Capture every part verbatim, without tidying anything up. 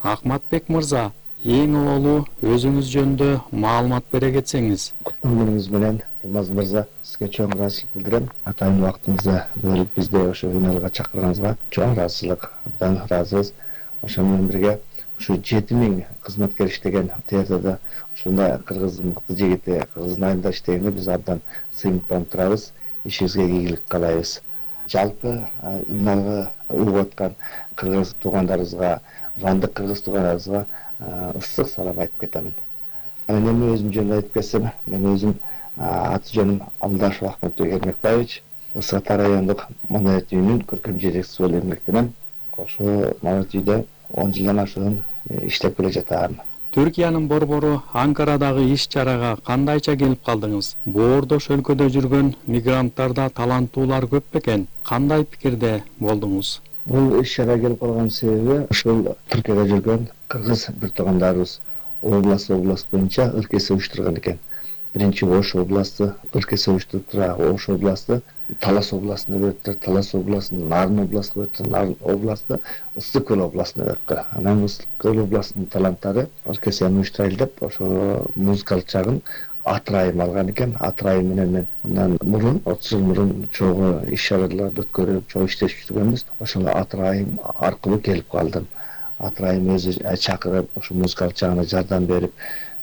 Акматбек мырза, эң ололу өзүңүз жөнүндө маалымат бере кетсеңиз. Куттук күнүңүз менен Алмаз мырза, сизге чоң ыраазычылык билдирем. Атайын убактыңызды бөлүп бизди ошо финалга чакырганыңызга чоң ыраазычылык, абдан ыраазыбыз. Ошо менен бирге ушу жети миң кызматкер иштеген театрда ушундай кыргыз мыкты жигити кыргыздын айында иштегенге биз абдан сыймыктанып турабыз. Ишибизге ийгилик каалайбыз. Жалпы финалга угуп аткан кыргыз туугандарыбызга, вандык кыргыз туугандарыбызга ысык салам айтып кетемин. Мен эми өзүм жөнүндө айтып кетсем, мен өзүм аты жөнүм Алдашев Ахметбек Эрмекбаевич, Ысык Ата райондук Монорет үйүнүн көркөм жетекчиси болуп эмгектенем. Ошо Монорет үйдө он жылдан ашуун иштеп келе жатам. Түркиянын борбору Анкарадагы иш-чарага кандайча келип калдыңыз? Боордош өлкөдө жүргөн мигранттарда таланттуулар көп бекен. Кандай пикирде болдуңуз? Бул иш-чарага келип калган себеби ушул Түркияда жүргөн кыргыз бир туугандарыбыз область область боюнча ыркеси уюштурган экен. Биринчи Ош областы ыркеси уюштуруп тура, Ош областы Талас областына бериптир, Талас областын Нарын областына бериптир, Нарын областы Ысык Көл областына бериптир. Анан Ысык Көл областынын таланттары оркестрин уюштурайлы деп ошо музыкалык жагын Атырайым алган экен. Атырайым менен мен мындан мурун отуз жыл мурун чогуу иш-чараларды өткөрүп, чогуу иштешип жүргөнбүз. Ошол Атырайым аркылуу келип калдым. Атырайым өзү чакырып, ошо музыкалык жагына жардам берип,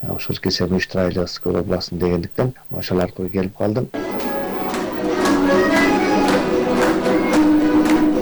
ошол оркестрин уюштурайлы Ысык Көл областын дегендиктен ошол аркылуу келип калдым.